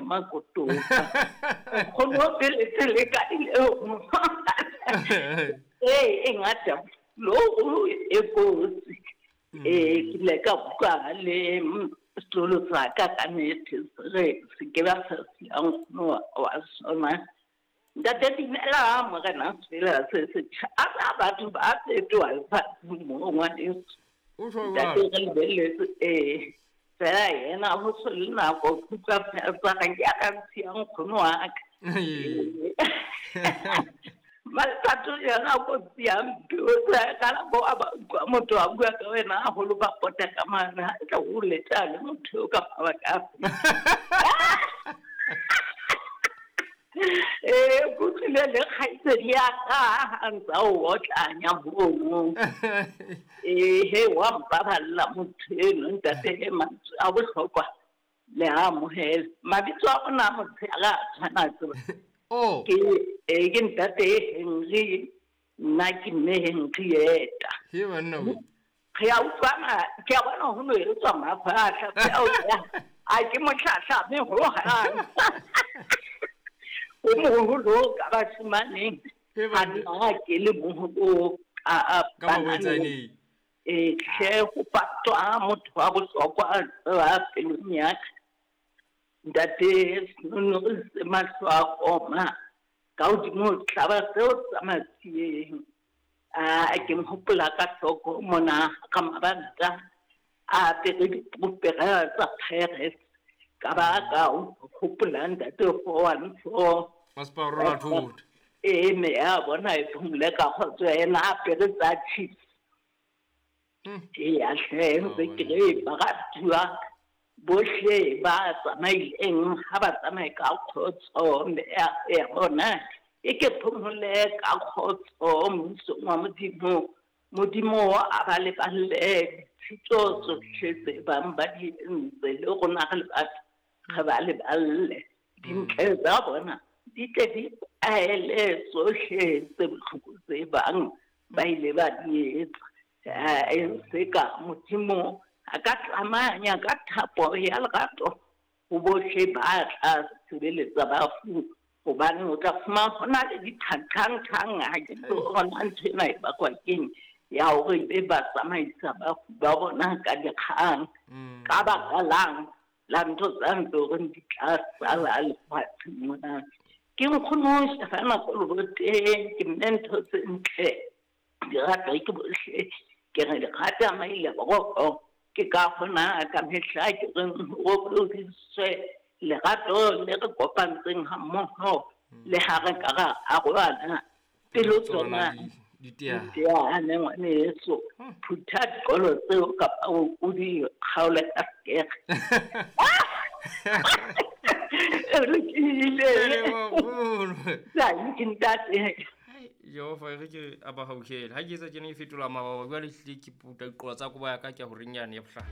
Makotoka. Nkgono pele tsele ka ile. E ngata lo e kotsi. Ke ile ka bua le setloholo sa ka ka nnete re se ke ba sa siya nkgono wa sona. Ntate dumela morena fela se setjha. A batho ba fetoha lefatsheng mo ngwaneso. Ntate re lebelletse fela yena ho so le nako kutlwa tsa ga ke a ka ntshiya nkgono wa ka. Malephato yona kotsi ya mpe o ka nako a ba utlwa motho a bua ka wena haholo ba pota ka mane ha tla o letsa le motho eo ka mabaka a ke utlwile le kgaitsedi ya ka a ntse a o otlanya mono. He wa mpaballa motho eno ntate mantswe a bohlokwa le a amohele. Mabitso a rona a motshehare a tshwana tseba. Ke ntate Henry, nna ke mme Henrietta. He banna we. Re a utlwana, ke a bona ho no etswa mafahla a ke mohlahla me ho hang. O moholo ka bashimaneng. A nna ke le moholo ka bananeng. Hle ho patwa motho wa bohlokwa wa pelong ya ka. Ntate Senono se mahlo a koma ka hodimo tlaba seo tsa matsieng. A ke mhopola ka hloko mona ka mabanta a apere dipopere tsa Pirates ka ba ka hopola ntate 414 Masipala thota. Me ya bona e phumule ka kgotso ena apere tsa Chiefs. Ya hle ntse ke re baratuwa bohle ba tsamaileng ha ba tsamaye ka kgotso ya bona e ke phumule ka kgotso mmusong wa Modimo. Modimo a ba leballe ditshito tsohle tse bang ba di entse le rona re le batho re ba leballe. Dintle tsa bona di tle di aele tsohle tse bohloko tse bang ba ile ba di etsa. Se ka Modimo a ka tlamanya ka thapo ya lerato ho bohle ba tla sebeletsa bafu. Hobane o tla fumana ho na le diqhaqhang ha ke tsona ntho ena e bakwa keng ya hore be ba tsamaisa bafu ba bona ka dikgang. Ka baka lang la ntho tsa ntse hore di tla sala lefatsheng mona. Ke nkgono Shafana Koloboteng, ke mme ntho tse ntle di ratwa ke bohle. Ke re di rata maile boroko ke ka kgona ka mehla ke reng ho roriswe lerato le re kopantseng ha mmoho le ha re ka ra arohana pelo tsona di teane ngwaneso. Phutha dikolo tseo kapa o di kgaole ka sekere. Lokile. Ke ntate. Jehova re ke a ba hauhele. Ha ke etsa tjena e fetola mababa jwale hlile ke puta diqola tsa kobo ya ka ke ya horeng yane ya bohlano.